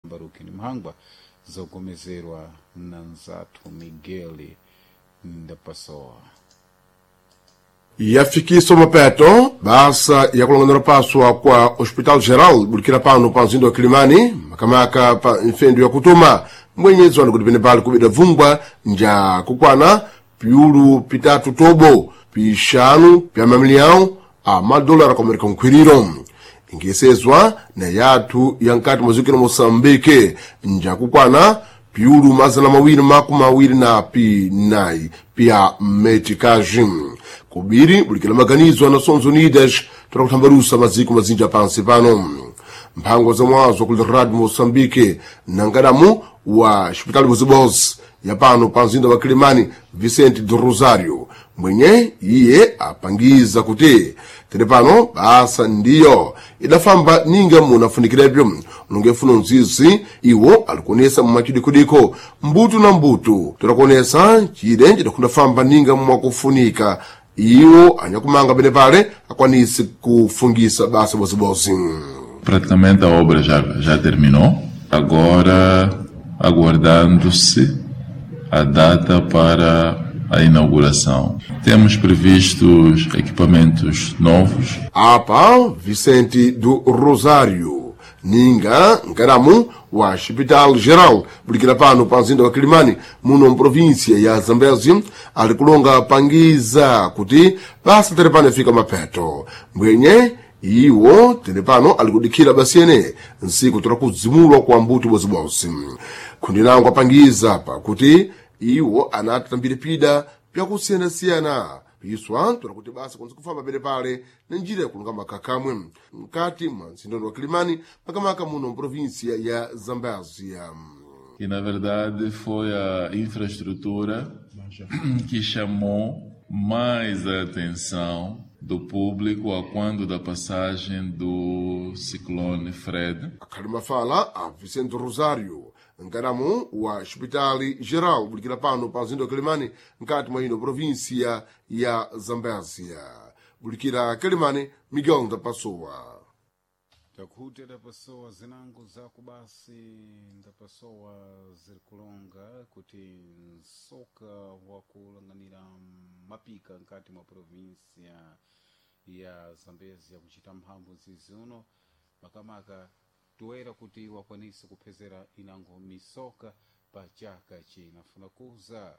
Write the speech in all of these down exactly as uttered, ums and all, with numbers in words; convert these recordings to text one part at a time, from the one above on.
Baruki ni Mhangwa, zogomezerwa na nzathu Miguel Ndapasowa. Yafikiswa mapeto basa yakulonganira paswa kwa Hospital Geral bulikira pano pa mzinda wa Kilimani, makamaka pa nfendu ya kutuma mwenyezi wanu kuti pene pali kubida vungwa nja kukwana piulu pitatu tobo pixanu pya mamiliyão a madolara ku Amerika nkhwiriro, ingesezwa na yathu ya nkati mwa ziko la Moçambique nja kukwana piulu mazana mawiri makumi awiri na pinayi pya meticage kubiri bulikira maganizo a Nações Unidas para kuthambalusa maziko mazinja pansi pano. Mphango za mwazo kuli Radio Moçambique na nkadamu wa Hospital Bozibozi ya pano pa mzinda wa Kilimani, Vicente do Rosario, mwenye iye apangiza kuti tere pano basa ndiyo idafamba ninga munafunikirepyo unongefuna mzizi iwo alikuonesa mumachidikudiko mbutu na mbutu torakuonesa chide chidakundafamba ninga mwakufunika iwo anyakumanga pene pale akwanise kufungisa basa bozibozi. Praticamente a obra já, já terminou. Agora aguardando-se a data para a inauguração. Temos previstos equipamentos novos. Apa Vicente do Rosário ninga nkadamu wa Hospital Geral bulikira pano pa mzinda wa Kilimani muno mprovinsia ya Zambezi ali kulonga pangiza kuti basa tere pano ifika mapeto mbwenye iwo tere pano ali kudikhira basiyene nsiku tora kudzimulwa kwa mbuto bozibozi. Khundi langu apangiza pakuti iwo anati tambire pida pyakusiyanasiyana piswa tola kuti basa kunzi kufamba pene pale na njira yakulunga makhakamwe mkati mwa mzindondo wa Kilimani, makamaka muno mprovinsia ya Zambezia. E na verdade foi a infraestrutura que chamou mais a atenção do público a quando da passagem do ciclone Fred. Akhali mafala a Vicente Rosário, nkadamu wa Hospitali Geral bulikira pano pa mzinda wa Kilimani mkati mwa ino provinsia ya Zambezia. Bulikira Kilimani, Miguel Ndapasowa. Takuti ndapasowa zinango zaku basi ndapasowa ziri kulonga kuti msoka wakulanganira mapika nkati mwa provinsia ya Zambezia kuchita mphamvu ziziuno makamaka toera kuti wakwanise kuphezera inango misoka pa chaka chinafuna kuza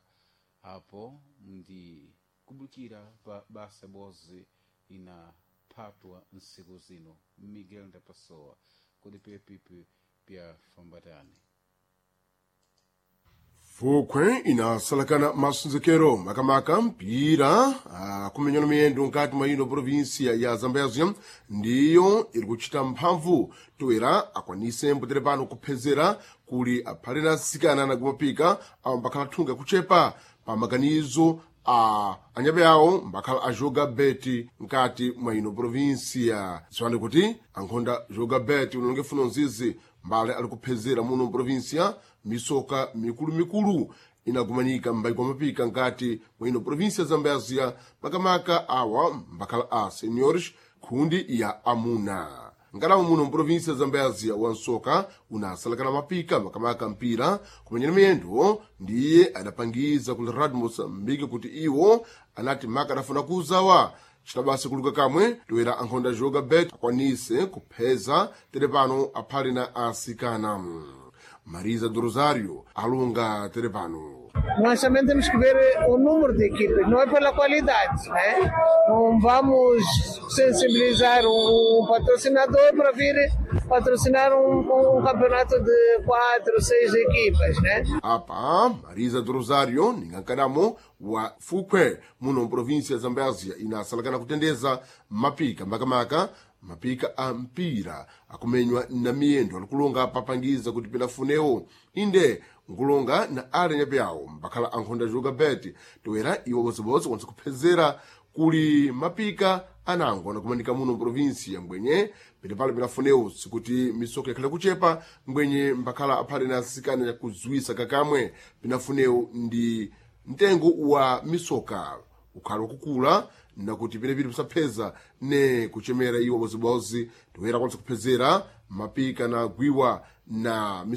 apo ndi kubukira pa basa bozi inaphatwa nsiku zino. Miguel Ndapasowa, kodi pepipi pya fambatani? Fukhwe inasalakana masunzekero makamaka mpira akumenyana miyendo nkati mwa ino provinsia ya Zambezia ndiyo iri kuchita mphamvu toera akwanise mbutere pano kuphezera kuli aphale na asikana nakumapika awo mbakhala thunga kuchepa pa maganizo a anyabe awo mbakhala ajoga beti nkati mwa ino provinsia. Ziwani kuti ankhonda joga beti unonge funo nzizi mbale ali kuphezera muno mprovinsia misoka mikulumikulu inagumanika m'mbaiko mapika nkati mwa ino provinsia ya Zambezia, makamaka awa mbakhala a seniors khundi ya amuna. Nkalamu muno mprovinsia ya Zambezia wansoka unasalakana mapika makamaka mpira kumenyera miyendo ndiye adapangiza kuli Radio Moçambique kuti iwo anati maka adafuna kuzawa citabasi kuluka kamwe toera ankhonda joga bet akwanise kupheza tere pano aphale na asikana. Marisa do Rosário alunga tere pano. Nós também temos que ver o número de equipes, não é pela qualidade, né? Não vamos sensibilizar um patrocinador para vir patrocinar um, um campeonato de quatro, seis equipas, né? Apa Marisa do Rosário ningankadamo wa Fukhwe muno mprovinsia ya Zambezia inasalakana kutendeza mapika makamaka mapika a mpira akumenywa na miyendo alikulonga papangiza kuti pinafunewo inde nkulonga na ale nyape awo mbakhala ankhonda joga beti toera iwo bodzibodzi kwanisa kuphezera kuli mapika anango anakumanika muno mprovinsia mbwenye penepale pinafunewo sikuti misoka yakhale kuchepa mbwenye mbakhala aphale na asikana yakudziwisa kakamwe pinafunewo ndi mtengo wa misoka ukhala wakukula nakuti penepili pisapheza ne kuchemera iwo bozibozi toera kwanisa kuphezera mapika na gwiwa na